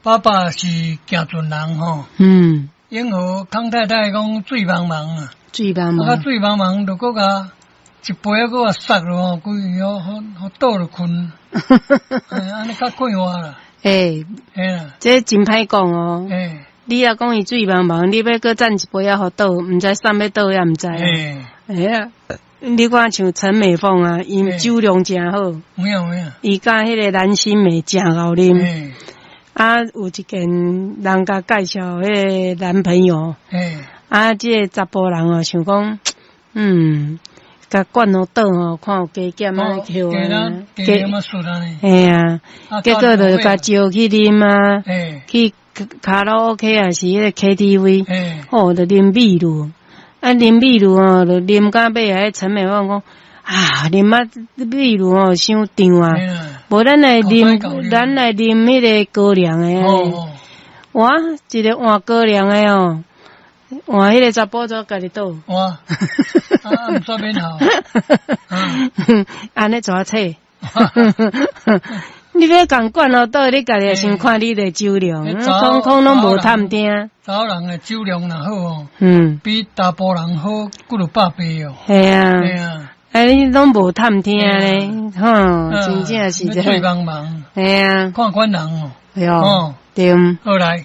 爸爸是行船人吼。永和康太太講水茫茫啊，水茫茫，啊，水茫茫就閣共一杯仔閣共捒落吼，規予予倒落睏，按呢較快活啦。欸，這真歹講哦。你若講伊水茫茫，你欲閣斟一杯仔予倒，毋知送欲倒也毋知。欸啊，你看像陳美鳳啊，伊酒量誠好。有影有影。伊佮彼個藍心湄誠𠢕啉。啊，有一件人共介紹彼個男朋友。啊，這个查埔人哦，想講，共灌予倒吼，看有加減按呢叫啊。加減啊輸按呢。嘿啊，結果就共招去啉啊，去卡拉 OK 抑是彼個 KTV，吼，就啉秘魯。啊，啉秘魯吼，就啉到尾啊，彼陳美鳳講啊，啉啊秘魯吼，傷脹啊，無咱來啉，咱來啉彼個高粱的。哇，一个換高粱的哦，換彼個查埔仔家己倒。哇，啊，毋煞免好。按呢怎切？你欲共灌予倒，你家己先看你的酒量，空空攏無探聽。查某人的酒量若好哦，比查埔人好幾落百倍哦。嘿啊。嘿啊。哎，你攏無探聽咧，吼，真正是這。水茫茫。嘿啊。看款人哦。對。對。好來。